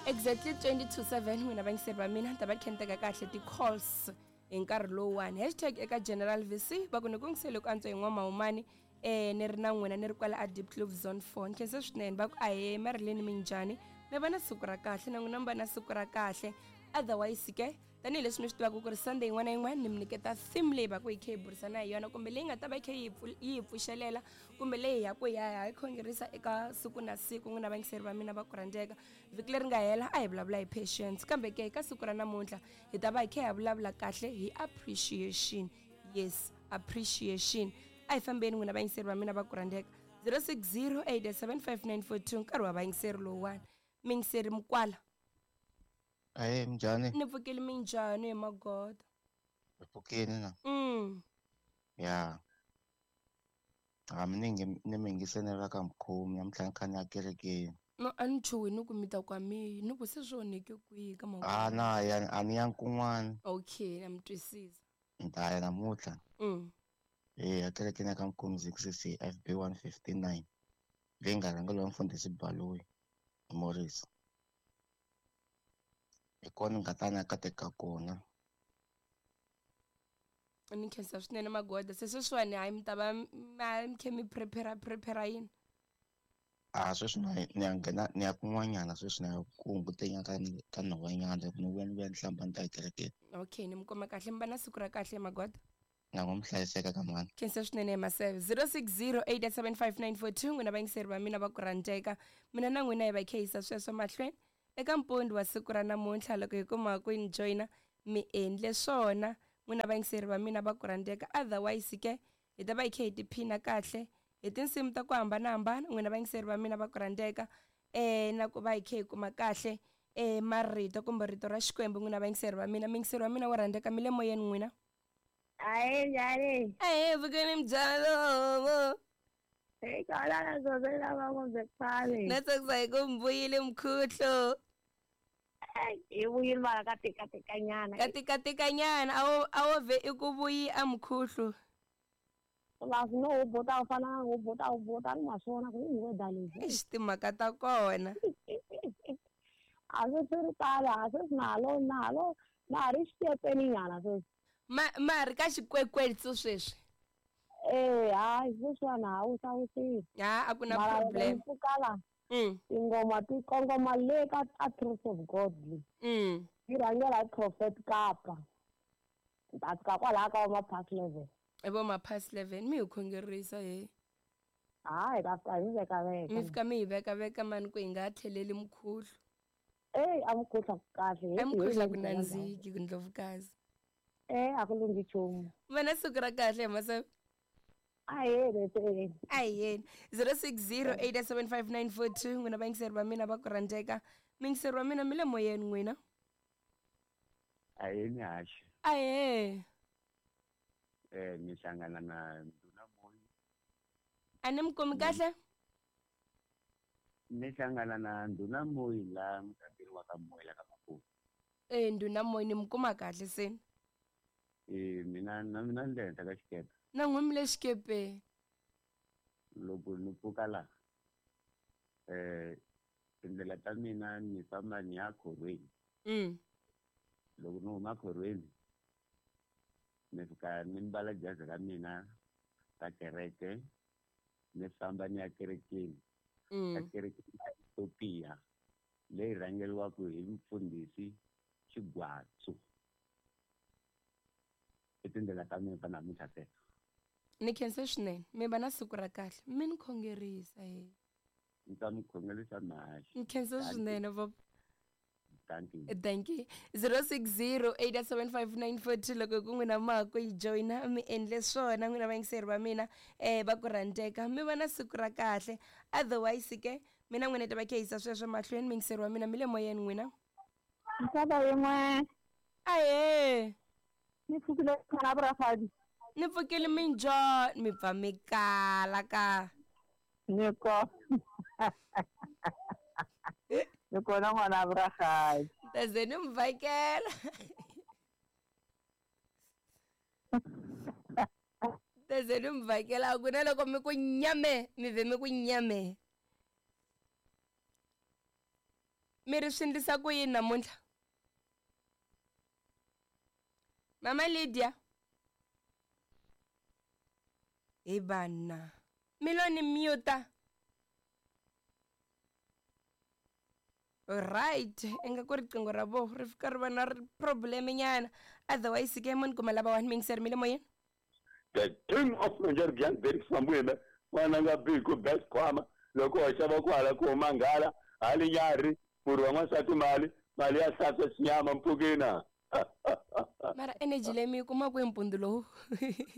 Exactly 20 to 7 n'wina vayingiseri va mina ni ta va khe ni teka kahle ti-calls hi nkarhi lowuwani. Hashtag eka General VC va ku ni ku ngisele ku antswa hi n'wamahumani ni ri na n'wina ni ri kwala a Deep Kloof Zone 4. Ni khense swinene va ku ahee Marilyn minjhani mi va na siku ra kahle na n'wina mi va na siku ra kahle. Otherwise ke tanihileswi mi swi tivaka ku ri Sunday yin'wana na yin'wana ni mi nyiketa theme leyi va ku hi khe hi burisana hi yona kumbe leyi nga ta va yi khe yi hi pfuxelela kumbe leyi hi ya ku hi ya hi khongerisa eka siku na siku n'wina vayingiseri va mina va ku rhandzeka. Vhiki leri nga hela a hi vulavula hi patience kambe ke ka siku ra namuntlha hi ta va hi khe hi vulavula kahle hi appreciation. Yes, appreciation. A hi fambeni n'wina vayingiseri va mina va ku rhandzeka. 06087594 nkarhi wa vayingiseri lowuwani. Miyingiseri Mukwala. Ahee, minjhani? Ni pfukile minjhani hi magoda? Hi pfukile na. Ya. Ha mi ni ni mi yingiselela ka mukhomi namuntlha ni kha ni ya kerekeni. No a ni chuhi ni ku mi ta ku a mi ni ku se swi onheke kwihi ka mhaka. A na ya a ni yangi kun'wana. Okay, na mi twisisa. Ni ta ya namuntlha. Eya kerekeni ya ka Mukhomi ZCC FB 159 leyi nga rhangeriwa mfundhisi Baloyi Morris. Hi kona ni nga ta ni ya kateka kona. Ni khensa swinene magoda se sweswiwani hayi mi ta va mi khe mi prepare prepare yini? A sweswi na ni ya nghena ni ya kun'wanyana sweswi ni ya ku hunguteni ka ka nhovanyana loko ni vuya ni vuya ni hlamba ni ta ekerekeni. Okay ni mi kuma kahle mi va na siku ra kahle magoda. Na n'wi mi hlayiseka ka mhani. Khensa swinene Maseve. 06087594 n'wina vayingiseri va mina va ku rhandzeka. Mina na n'wina hi va khehisa sweswo mahlweni eka mpundi wa siku ra namuntlha loko hi kuma ku ni joyina mi endle swona n'wina vayingiseri va mina va ku rhandzeka. Otherwise ke hi ta va hi khe hi tiphina kahle hi tinsimu ta ku hambanahambana n'wina vayingiseri va mina va ku rhandzeka na ku va hi khe hi kuma kahle marito kumbe rito ra Xikwembu n'wina vayingiseri va mina. Muyingiseri wa mina wo rhandzeka mi le moyeni n'wina. Ahe njhani? Ahe vukeni mbyalo. Hey kala na zozela va kumbe khale. Na tsakisa hi ku mbuyile mkhuhlo. Hi vuyile mara ka tika tika nyana. Ka tika tika nyana a wo ve i ku vuyi a mkhuhlo. Va no u bota u fana u bota u bota ni ma swona ku i weather lexi. Eish timhaka ta kona. A swi swi ri tala a swi nalo nalo na ri xikepeni nyana sweswi. Ma ma ri ka xikwekwetsu sweswi. Eh hayi sweswiwani ha wu sawusile. Ha a ku na problem. Pfukala. Tingoma ti kongoma le ka a Truth of God. Yi rhangela hi Prophet Kapa. Ta fika kwalaho ka va past 11. I vo ma past 11 mi hi khongerisa he. Hayi ta fika hi veka veka. Mi fika mi hi veka veka mani ku hi nga tlheleli mukhuhlu. Ey a mukhuhla ku kahle. A mukhuhla ku nandziki ku ndlovukazi. A ku lunghi nchumu. Va na siku ra kahle hi Maseve. Ahee leseni. Ahee. 06087594 n'wina vayingiseri va mina va ku rhandzeka. Muyingiseri wa mina mi le moyeni n'wina. Ahee ni haxi. Ahee. Ni hlangana na Nduna Moyi. A ni mi kumi kahle? Ni hlangana na Nduna Moyi la mugangeni wa ka Moyi la ka Maputo. Nduna Moyi ni mi kuma kahle se. Mina na mina ni le henhla ka xikepe. Na n'wi mi le xikepeni. Loko ni pfuka la tindlela ta mina ni famba ni ya khorweni. Loko ni huma khorweni ni fika ni mbala jazi ra mina ra kereke ni famba ni ya kerekeni. Ka kerekeni ya Ethiopia leyi rhangeriwaka hi mfundhisi Xigwatsu. I tindlela ta mina ta namuntlha teto. Ni khense swinene mi va na siku ra kahle mi ni khongerisa he. Ni ta mi khongerisa mhaxi. Ni khense swinene papa. Thank you. Thank you. 06087594 loko ku n'wina ma ku yi joyina mi endle swona n'wina vayingiseri va mina va ku rhandzeka mi va na siku ra kahle. Otherwise ke mina n'wina ta va khehisa sweswo mahlweni muyingiseri wa mina mi le moyeni n'wina. Nsava yin'we. Ahee. Ni pfukile khona brafadi. Ni pfukile minjhani mi pfa mi kala ka. Ni ko. Ni kona n'wana brafadi. Ta ze ni mi vhakela. Ta ze ni mi vhakela ku na loko mi ku nyame mi ve mi ku nyame. Mi ri swi endlisa ku yini namuntlha? Mama Lydia. Hi vana. Mi lo ni mute. Right, ingaku riqingho ra vo ri fika ri va na problem nyana. Otherwise ke mo ni kuma lava one mingiseri mi le moyeni. The king of Nigeria very somewhere n'wana nga biku best khwama loko hoxa va ku hala ku huma nghala hali nyarhi murhi wa n'wansati mali mali ya hlantswa xinyama mpfukina. Mara energy leyi mi yi kuma kwihi mpundzu lowu?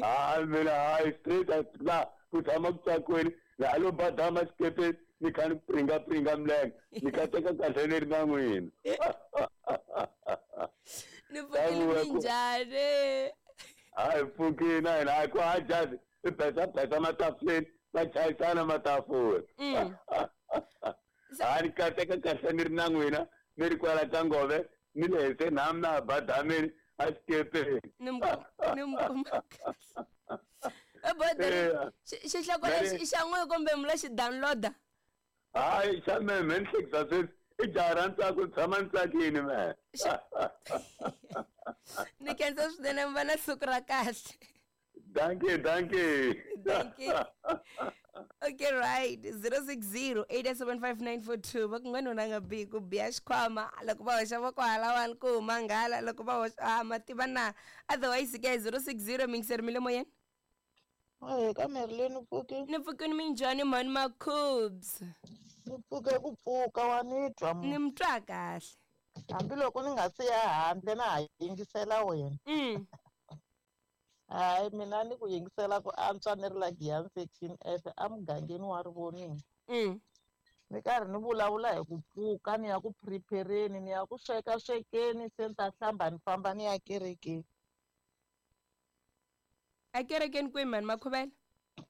Hayi mina hayi straight la ku tshama ku tsakweni laha lo badama xikepeni ni kha ni pringa pringa milenge ni kateka kahle ni ri na n'wina. Ni pfukile minjhani? Hayi pfukina hina hayi ku ha jazi i besa besa matafuleni va chayisana matafula. Hayi ni kateka kahle ni ri na n'wina ni ri kwala ka ngove ni le henhla nhamu na badameni a xikepeni. Ni mi kuma kahle. Ebodeni xihloko lexi i xa n'we kumbe mi lo xi download-a? Hayi xa mehe me ni hlekisa sweswi i jaha ra ntsako ni tshama ni tsakini mehe. Ni khensa swinene mi va na siku ra kahle. Dankie, dankie. Dankie. Okay, right. 060-875-942. Va ku n'wanuna nga bihi ku biha xikhwama loko va hoxa voko halawani ku huma nghala loko va hoxa ah ma tiva na. Otherwise ke 060 mingiseri mi le moyeni. Ahee ka Marilyn u pfukile? Ni pfukile minjhani mhani Makhubs? Ni pfuke ku pfuka wa ni twa Ni mi twa kahle. Hambiloko ni nga si ya handle na ha yingisela wena. Hayi mina ni ku yingisela ku antswa ni ri la Giyani section F emugangeni wa Rivoningo. Ni karhi ni vulavula hi ku pfuka ni ya ku prepare-ni ni ya ku sweka swekeni se ni ta hlamba ni famba ni ya kerekeni. A kerekeni kwihi mhani Makhuvela?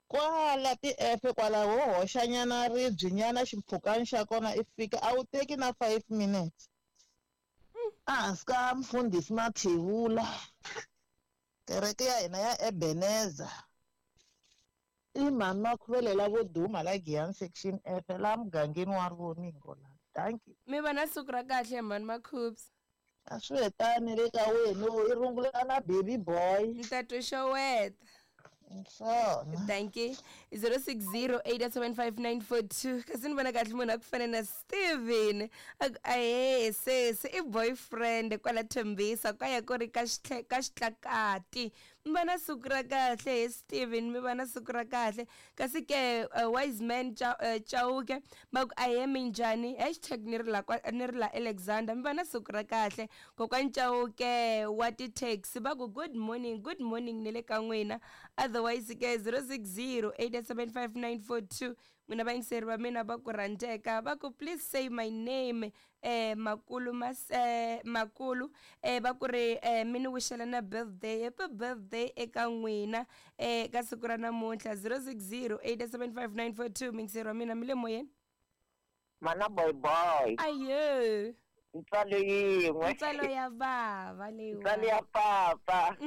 Kwala ti-F kwala ho hoxanyana ribye nyana ximpfhukani xa kona i fika a wu teki na 5 minutes. Ehansi ka mfundhisi Mathevula kereke ya hina ya Ebenezer i mhani Makhuvele lavo duma la Giyani section F la mugangeni wa Rivoningo la. Dankie. Mi va na siku ra kahle mhani Makhubs. A swi hetani le ka wena i rungula na baby boy. Ni ta twa xeweta. Swona. Dankie. 060-875-942. Kasi ni vona kahle munhu a ku fana na Steven. A ku ahee sesi i boyfriend kwala Thembisa ka ya ku ri ka ka xitlakati. Mi va na siku ra kahle he Steven mi va na siku ra kahle. Kasi ke wise man Chauke va ku ahee minjhani hashtag ni ri la ni ri la Alexander mi va na siku ra kahle. Kokwani Chauke wa ti-taxi va ku good morning good morning ni le ka n'wina. Otherwise ke 060-875-942 n'wina vayingiseri va mina va ku rhandzeka va ku please say my name makulu mas makulu va ku ri mi ni wixela na birthday happy birthday eka n'wina ka siku ra namuntlha 060-875-942 muyingiseri wa mina mi le moyeni. Mana boy boy. Ayo. Ntswalo yin'we. Ntswalo ya bava leyiwa. Ntswalo ya papa.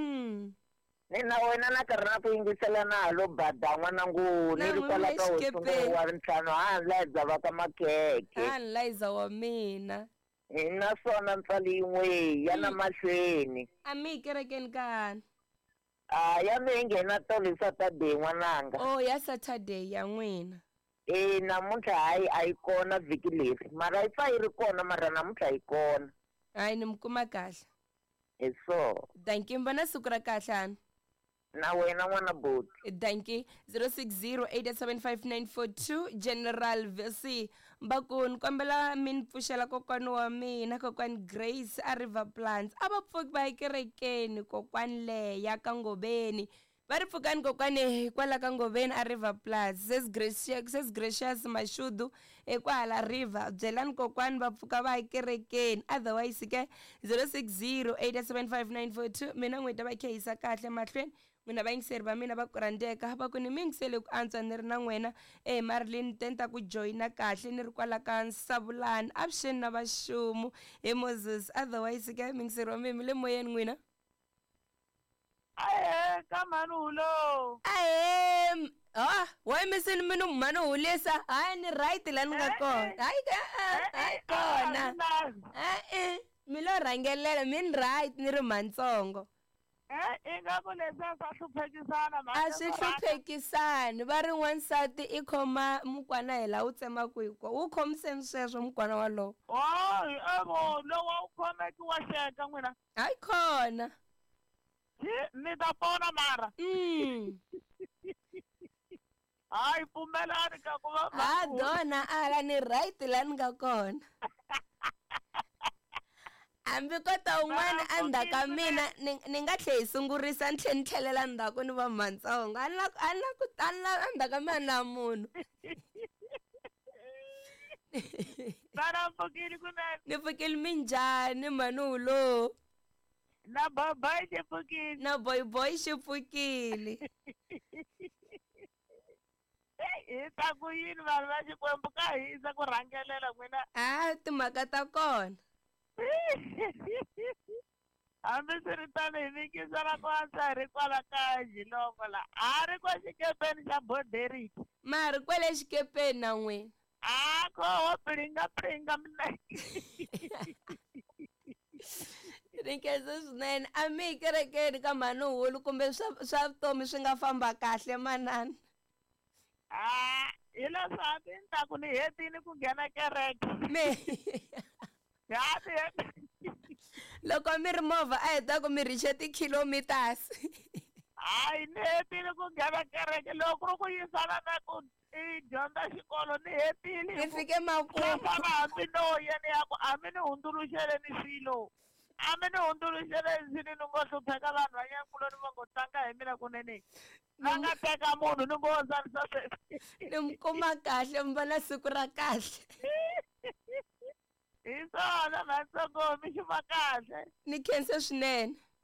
Ni na wena na karhi na ku yingisela na ha lo bada n'wana ngu ni ri kwala ka hosi wa ntlhanu ha ni va ka makhekhe. Ha ni layiza wa mina. Hi naswona ntswalo yin'we ya na mahlweni. A mi yi kerekeni kani? A ya mi yi nghena tolo hi Saturday n'wananga. Oh ya Saturday ya n'wina. E namuntlha hayi a yi kona vhiki leri mara yi pfa yi ri kona mara namuntlha yi kona. Hayi ni mi kuma kahle. Hi so. Dankie mi va na siku ra kahle hani. Na wena n'wana buti. Dankie 060-875-942 General VC va ku ni kombela mi ni pfuxela kokwani wa mina kokwani Grace a River Plants a va pfuki va ya kerekeni kokwani leya ka Ngobeni va ri pfukani kokwani kwala ka Ngobeni a River Plants ses Gracious ses Gracious Mashudu ekwahala River byelani kokwani va pfuka va ya kerekeni otherwise ke 060-875-942 mina n'wina va khehisa kahle mahlweni n'wina vayingiseri va mina va ku rhandzeka va ku ni mi yingisele ku antswa ni ri na n'wina e Marilyn te ni ta ku joyina kahle ni ri kwala ka Nsavulani avuxeni na vaxumu hi Moses otherwise ke muyingiseri wa mina mi le moyeni n'wina. Ahee ka mhani hulo. Ahee ha why mi se mi ni mhani hulisa hayi ni right la ni nga kona hayi hayi kona. lo rhangelela min right ni ri mantsongo. Ingaku leswiya swa hluphekisana a swi hluphekisani va ri n'wansati i khoma mukwana hi laha wu tsemaku hi kona wu khomiseni sweswo mukwana walowo. Evo lowu a wu khomeki wa xeka n'wina. Hayi khona. Ni ta pona mara. Hayi pfumelani ka ku va ha dona ala ni right la ni nga kona. Hambi ko ta un'wana endzhaku ka mina ni nga tlhe hi sungurisa ni tlhe ni tlhelela ndzhaku ni va mantsongo a ni la a ni la ku a ni la endzhaku ka mina na munhu. Vana pfukile kunene. Ni pfukile minjhani mhani Na boy xi pfukile. Na boy boy xi pfukile. Hi ta ku yini vanhu va Xikwembu ka hisa ku rhangelela n'wina. A timhaka ta kona. Hambi swiritano hi mikisela ku antswa hi ri kwala ka Jilongo la a ri kwa xikepeni xa Boderiki. Ma ri kwale xikepeni na n'wina. A koho piringa piringa mina. Ni khensa swinene a mi yi kerekeni ka mhani Hulu kumbe swa vutomi swi nga famba kahle manana. A hi leswi hambi ni ta ku ni hetini ku nghena kereke. Me loko mi ri movha a hi ta ku mi riche ti-kilometers. Hayi ni hetile ku nghena kereke loko ku ri ku yisana na ku i dyondza xikolo ni hetile. Ni fike makumu. Famba hambi no ya ni ya ku a mi ni hundzuluxeleni swilo. A mi ni hundzuluxeleni swilo ni ngo hlupheka vanhu va nyankuloni va ngo tlanga hi mina kunene. Va nga teka munhu ni ngo tsarisa sweswi. Ni mi kuma kahle mi va na siku ra kahle. Hi swona matsongo mi xuma kahle. Ni khense swinene.